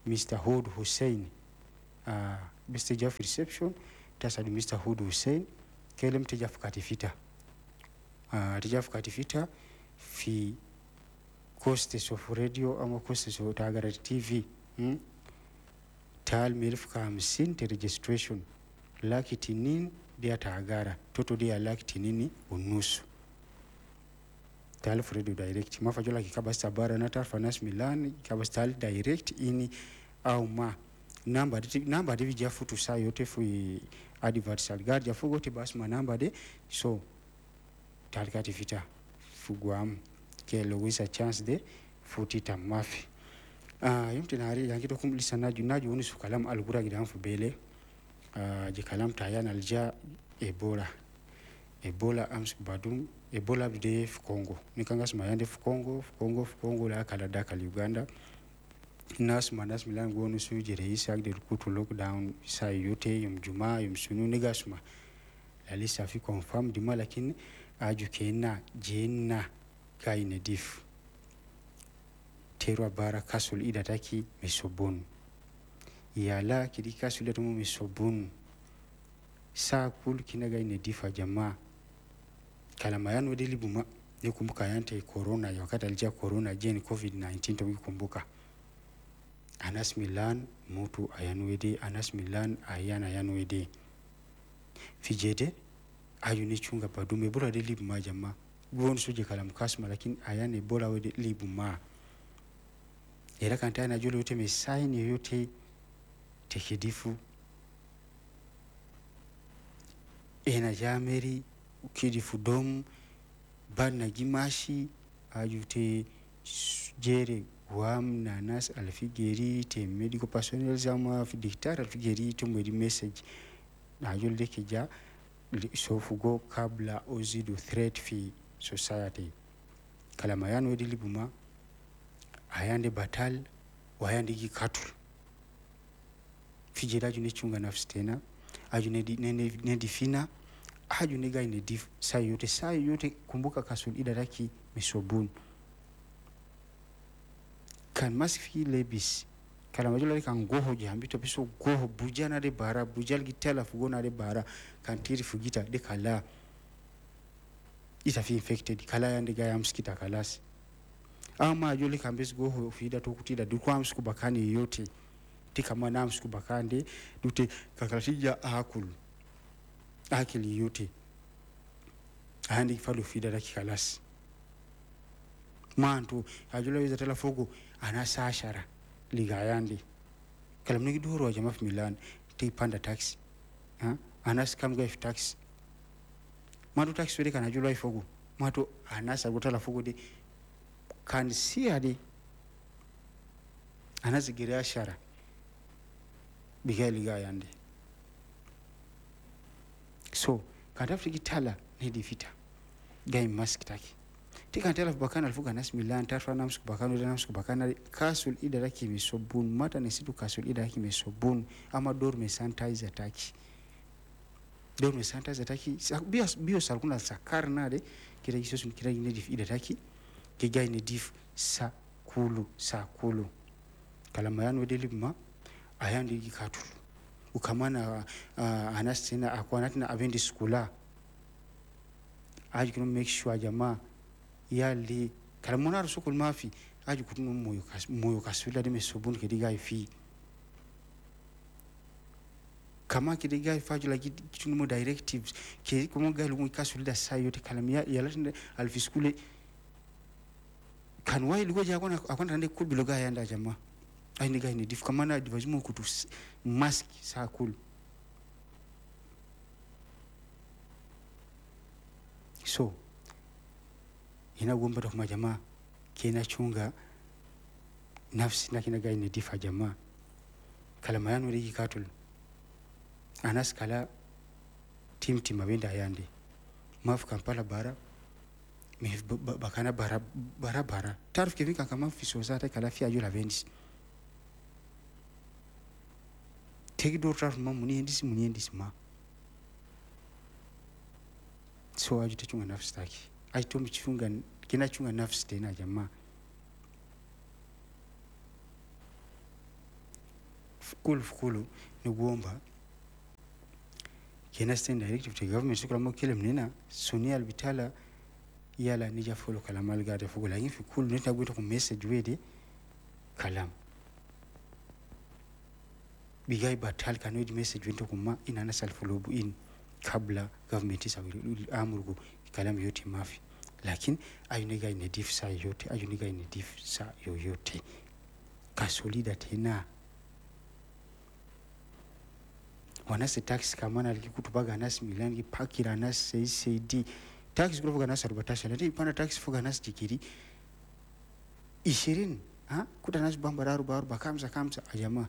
Mister Hood Hussein uh, Mister Jeff reception tasadu Mister Hood Hussein kelem teja kati fita uh, tijafu katifita fi costs of radio ama costs of Tagara T V hmm? Tal melfu ka hamsini te registration laki tinin dia Tagara toto dia laki tinini unusu tal radio direct mafajola kikabasta bara na tarfa nas Milan kikabasta direct ini au ma namba namba de vijafu tu saa yote fu adverts algar jafu gote bas ma namba de so tarikati vita fuguam ke logisa chance de futita mafi ah yumte nari yangi to kumlisa naju naju woni sukalam algura gidan fu bele ah je kalam tayan alja Ebola Ebola ams badum Ebola de Congo nikangas mayande fu Congo fu Congo fu Congo la kala da kala Uganda nas manas milan gonu su jere isak de kutu lockdown sa yote yum juma yum sunu nigasuma la lista fi confirm dima lakin aju kena jenna kaine dif terwa bara kasul idataki misobon yala kidi kasul atumu misobon sa kul kinaga ine difa jamaa kalama yanu delibuma nikumbuka yante corona ya wakati alija corona jeni covid nineteen tukikumbuka Anas Milan mutu ayanuede Anas Milan ayana ayanuede fijede ayuni chunga padume Ebola de libuma jamaa guon suje kalam kasma lakini ayane Ebola wede libuma era kanta na jolo yote mesaini yote tekidifu ena jameri ukidifu dom bana gimashi ayute jere wam na nas alfigeri te medical personnel zama fi dictar alfigeri to mwedi message na jolo keja sofugo kabla ozidu threat fi society kalama yanu wedi libuma ayande batal wayande gikatul fijera june chunga nafsi tena ajune ne fina ajune ga ne dif sayote sayote kumbuka kasul idaraki misobun kan masfi lebis kalama jolo kan goho jambito biso goho bujana de bara bujal gitala fugona de bara kan tiri fugita de kala ita fi infected kala yande ga yamskita kalas ama joli kan bis goho fida to kutida dukwa amsku bakani yote tika mana amsku bakande dute kakalatija akul akili yote andi falu fida da kalas mantu ajola wiza tala fogo anasa ashara ligayandi kalamnigi duro jama fi Milan te panda taxi ha anas kam ga taxi mantu taxi wede kana jola fogo mantu anasa gotala fogo de kan siade anasa gere ashara biga ligayandi so kan tafiki tala ne difita gai mask taki tika tala bakana alfuga nas Milan tarfa namsku bakana namsku bakana kasul idaraki misobun mata nesitu kasul idaraki misobun ama dor me sanitizer taki dor me sanitizer taki bio bio salkuna sakarna de kira gisosun kira ne dif idaraki ke gai ne dif sa kulu sa kulu kalama yanu delibma ayandi gikatul ukamana uh, anastina akwana abendi skula aji kuno make sure jamaa yali kalamona rusukul mafi aji kuno moyo kas moyo kasula de mesobun kediga ifi kama kediga ifi la kituno mo directives ke komo galu mo kasula sayote kalamia yala alfiskule kan wai lugo ja akona akona rande kubiloga yanda jamaa aini gaini dif kamana divajimu kutu mask sakul so ina gomba to jamaa kina chunga nafsi na kina gaini difa jamaa kalama yanu rigi katul anas kala tim tim abenda yande mafu Kampala bara me bakana bara bara bara tarif kevika kama fisoza kala fi ajola vendis tegi do traf ma muni endisi muni endisi ma so aje chunga nafsi taki aje chunga kina chunga nafsi tena jamaa fukulu fukulu ni kuomba kina stand directive to government sukula mo kile mnena sunia albitala Yala nija follow kalamal gade fogo lakini fi kulu nita gwito ku message wede kalam bigai batal kanwe message wento kuma ina na self follow in kabla government isa amurgo kalam yote mafi lakini ayuniga inedif sa yote ayuniga inedif sa yoyote kasolida tena wanase tax kamana likikutubaga nasi milangi pakira nasi C C D tax kulofuga nasi arobatasha lati ipanda tax fuga nasi jikiri ishirini ha kuta nasi bamba aruba aruba kamsa kamsa ajama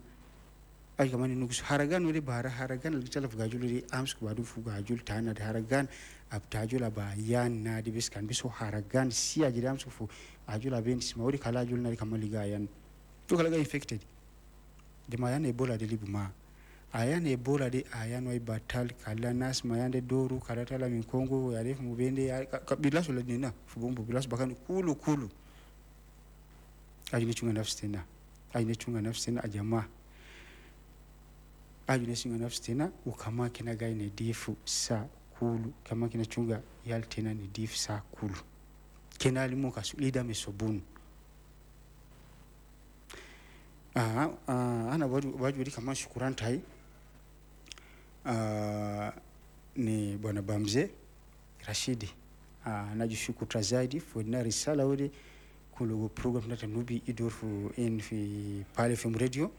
ay kamani nugus haragan wele bara haragan likitala fuga julu ams kubadu fuga julu tana haragan abtajula ba yan na dibis kan biso haragan si ajiri ams fu ajula ben smauri kala julu na kamaliga yan to kala infected dema yan ebola de libuma ayan ebola de ayan way batal kala nas mayande doru kala tala min Kongo ya ref mubende bilaso la nina fubombo bilaso bakani kulu kulu ajine chunga nafsi tena ajine chunga nafsi tena ajama ajine chunga nafsi tena ukama kina gaine difu sa kulu kama kina chunga yal tena ni difu sa kulu kena alimu kasulida mesobunu ah ah ana waju waju kama shukuran tai ah ni bwana Bamze Rashidi ah najishukuru zaidi for na risala wode kulogo program na nubi idorfu in fi Pale F M radio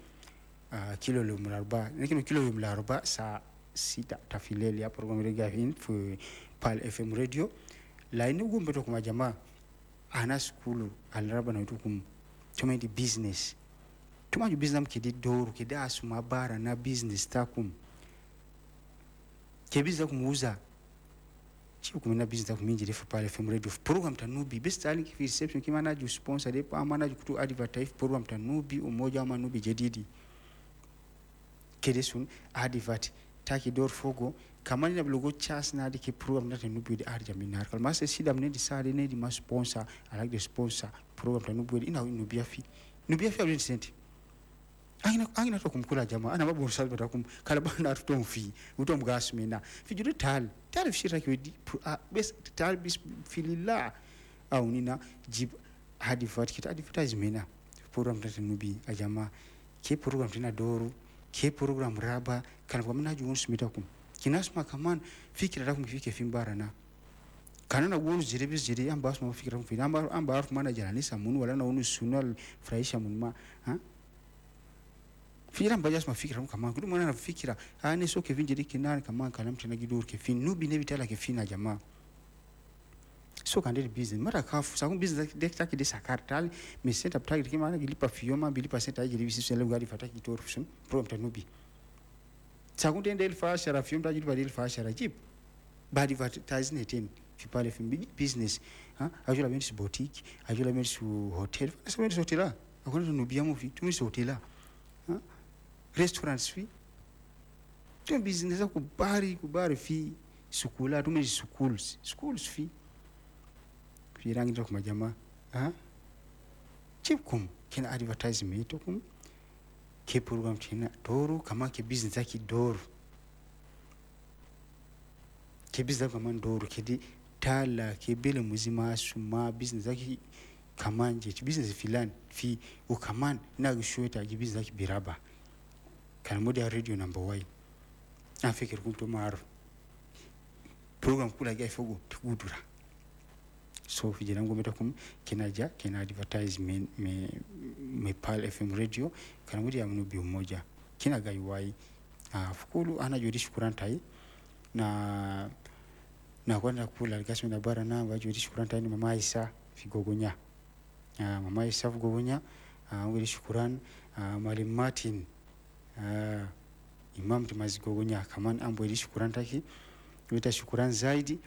ah kilo lo mlarba lakini kilo lo mlarba saa sita tafileli ya program rega in fi Pale F M radio laini gumbe to kuma jamaa ana skulu alraba na tukum tumendi business tumaju business kidi doru kidi asuma bara na business takum kebiza kumuuza chiku kumina business kuminji refu Pale F M radio program tanubi best alink fi reception kimana ju sponsor de pa manaju kutu advertise program tanubi umoja ama nubi jedidi kedesun advert taki dor fogo kamani na blogo chas na dike program na tanubi de arja minar kalma se sida mne di sare ne di ma sponsor alak de sponsor program tanubi ina nubia fi nubia fi abin senti angina angina to kumkula jamaa ana babu salba takum kala bana tutomfi utomgasmina fijiru tal tal fishira kiwedi bes tal bis fililla au nina jib advert kita advertisement program tanubi ajama ke program tena doru ke program raba kana kwa mna juun smitakum kinasma kaman fikira takum fike fimbara na kana wonu jire bis jire amba asma fikira kum fi amba amba arf mana jalanisa mun wala na wonu sunal fraisha mun ma ha fikira mbaja asma fikira kaman kudu mwana na fikira ane so ke vinjiri kinan kaman kalam tena gidur ke fin nubi ne bitala ke fina jamaa so kan business mara kafu sa business de taki de sakartal me set up taki kimana gilipa fioma bilipa set ajiri bisi sele gari fataki gitor fusun prom tanubi sa kun tende elfa shara fiom tajiri ba elfa shara jib badi advertising ten fi Pale F M business ha ajula men's boutique ajula men's hotel sa men's hotel akona nubia muvi tu men's hotel ha restaurants fi tu business ku bari ku bari fi sukula tu men's schools schools fi firangi to kuma jama ha chipkum kina advertisement to kum ke program tina doru kama ke business aki doru ke business kama doru kedi tala ke bele muzima suma business aki kamanje business filan fi ukaman na gishweta ji business aki biraba kana modia radio number one afikir kunto maru program kula ga fogo tukudura so vijana ngometa kum kinaja kina advertisement me me Pale F M radio kana mudi amnubi umoja kina gaiwai ah fukulu ana jodi shukuran tai na na kwenda kula gasmi na bara na wajodi shukuran tai ni mama Isa figogonya ah mama Isa figogonya ah ngodi shukuran ah Mwalimu Martin ah Imam timazigogonya kaman ambo ili shukuran taki wita shukuran zaidi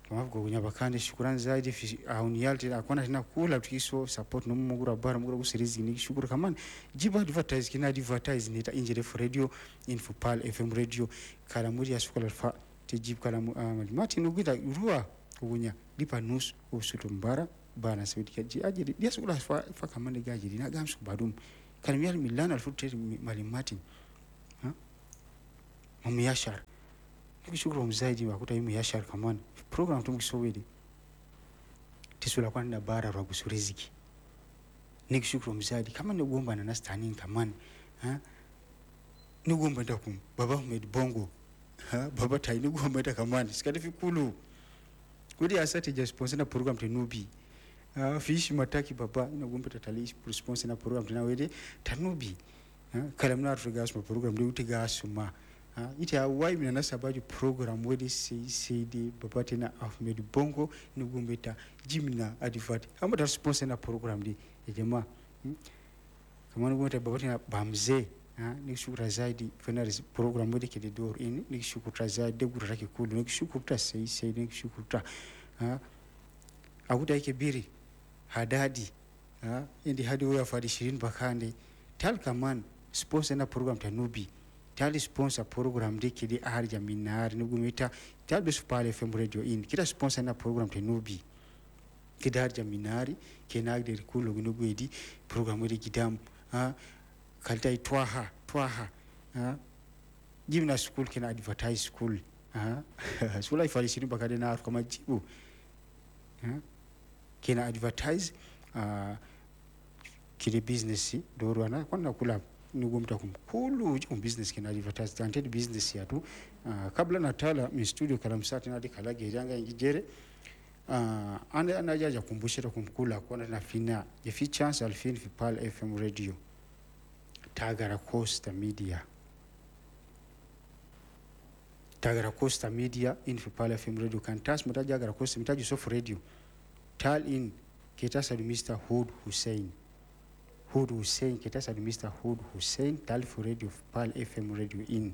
kama bakande shukuran zaidi fi auniyalti akona tena kula tukiso support no mugura bara mugura kusirizi ni shukuru kaman jiba advertise kina advertise ni ta injere for radio info Pal F M radio kala muri ya sukula fa tijib kala uh, Martin ugita ruwa kugunya lipa nus usutumbara bana sawidi kaji ajiri dia sukula fa, fa kaman gajiri na gamsu badum kala miyal milana alfutere mali Martin ha mumiyashar shukuru mzaidi wakuta yimu yashar kaman program tumkisowedi Tisula kwa nina bara rwa gusuriziki. Nikishukuru mzadi kama nigomba na nastani kaman ha nigomba ndakum baba Ahmed Bongo ha baba tai nigomba ndakamani sikati fikulu kudi asate ja sponsor na program tenubi ah fish mataki baba inagomba tatali sponsor na program tenawede tanubi ha kalamna rugas ma program de utiga suma ha ita wai mina nasabaji program wedi C C D baba tena Ahmed Bongo nigomba ta jimna advert ama ta sponsor na program de jamaa hmm? Kama nigomba baba tena bamze ha nikishukuru zaidi fena program wedi kede door in nikishukuru zaidi gura kikulu nikishukuru sei sei nikishukuru ha akuta ikebiri hadadi ha indi hadi oya fadi ishirini bakande tal kaman sponsor na program tanubi tali sponsor program de kede arja minar nugumita tal be supale F M radio in kita sponsor na program tanubi kede arja minari kenagde kulo nugwedi program wedi gidam ha kalta itwaha twaha ha jimna school kena advertise school ha school ifali ishirini bakade na kama jibu ha kena advertise uh, kile business doro ana kwana kula nugomta kumkulu um business kena advertise ante business yatu uh, kabla natala mi studio kalamsati na dikalage yanga ingijere uh, ande anajaja kumbushira kumkula kwana na fina je fi chance alfin fi Pal F M radio Tagara Costa Media Tagara Costa Media in fi Pal F M radio kantas mutaja Tagara Costa mutaji sof radio tal in ketasa Mister Hood Hussein Hood Hussein ketasa Mister Hood Hussein tal for radio Pal F M radio in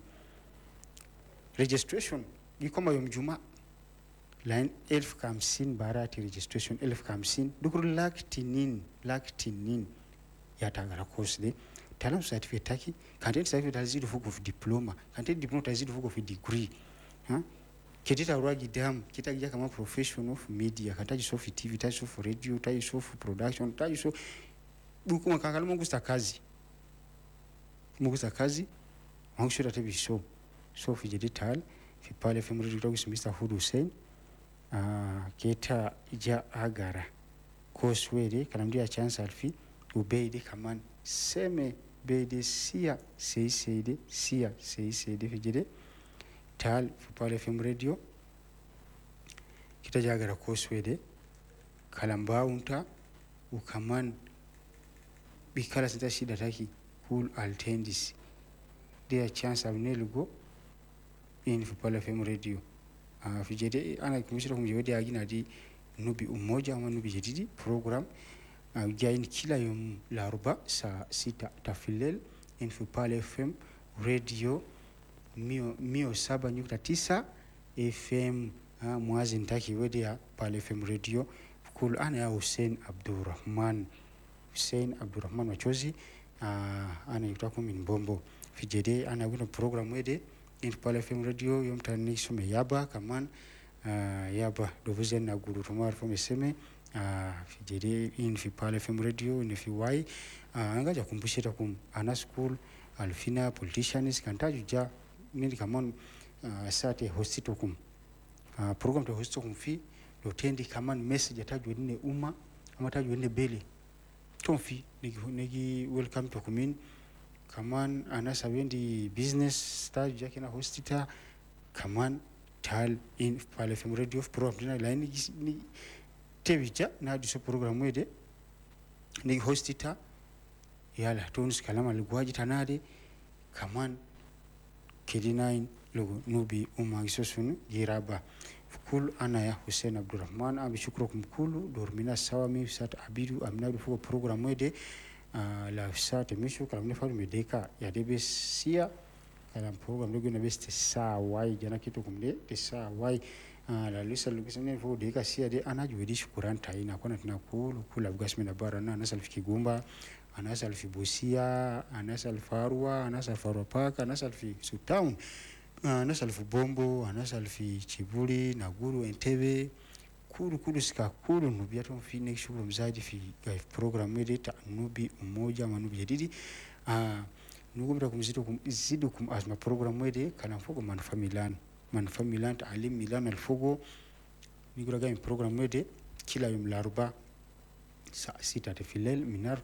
registration gikoma yom juma line elf kamsin barati registration elf kamsin dukuru lak tinin lak tinin ya Tagara Costa de talam certificate taki kanten certificate tazidu fuko fi diploma kanten diploma tazidu fuko fi degree ha ketita rwagi dam kita kama professional of media kataji sofi T V taji sofi radio taji sofi production taji so bukuma kakala mungu sta kazi mungu sta kazi wangu tebi so sofi jedital fi Pal F M radio tagu Mister Hood Hussein ah keta ja agara koswede kalamdia chance alfi ubeide kaman seme bede sia sei sei sia sei sei fijede tal Pal F M radio kitajagara koswede kalamba unta ukaman bikala sita shida taki cool altendis dia chance abnelugo in Pal F M radio uh, fijede ana kumishira kumjewede agina di nubi umoja ama nubi jedidi program Uh, jain kila yom laruba saa sita tafilel in Pal F M radio mio, mio saba nukta tisa F M uh, mwazi ntaki wedi ya Pal F M radio kul ana ya Hussein Abdurrahman Hussein Abdurrahman wachozi uh, ana yutaku minbombo fijede ana guna program wede in Pal F M radio yom tani sume yaba kaman uh, yaba dovuzen na guru tumar fomeseme ah fijede in fi Pal F M radio in fi y angaja kumbushira kum ana school alfina politicians kantaju ja nindi kaman uh, sate hostito kum uh, program to hostito kum fi lotendi kaman message ataju nne umma ama taju nne bele tomfi nigi nigi welcome to kumin kaman ana sabendi business taju ja kina hostita kaman tal in Pal F M radio program dina line ni tebija na diso program wede ni hostita yala tonus kalama lugwaji tanade kaman kidinain lugu nubi umma gisosunu giraba kul ana ya Hussein Abdurrahman abi shukrukum kulu dormina sawami sat abidu amnadu fuko program wede uh, la sat mishu kalam ne falu medeka ya debe sia kalam program lugu na beste saa wai jana kitu kumde te saa wai Uh, la lisa lugisene fo deka sia de ana juwedi shukuran taina kona tuna kulu kula bugasmi na bara na anasa alfi Kigumba anasa alfi Busia anasa alfi Arua anasa alfi Arua Park anasa alfi Sutown anasa alfi Bombo anasa alfi Chibuli Naguru Entebbe kulu kulu sika kulu nubia tomfi ne shukuru mzaji fi program edita nubi umoja manubi jadidi uh, nugumta kumzidu kum zidu kum azma program ede kana mfuko manufa Milan manufa Milan alim Milan alfugo nigura ga program ede Kila يوم الأربعاء الساعة ستة في الليل من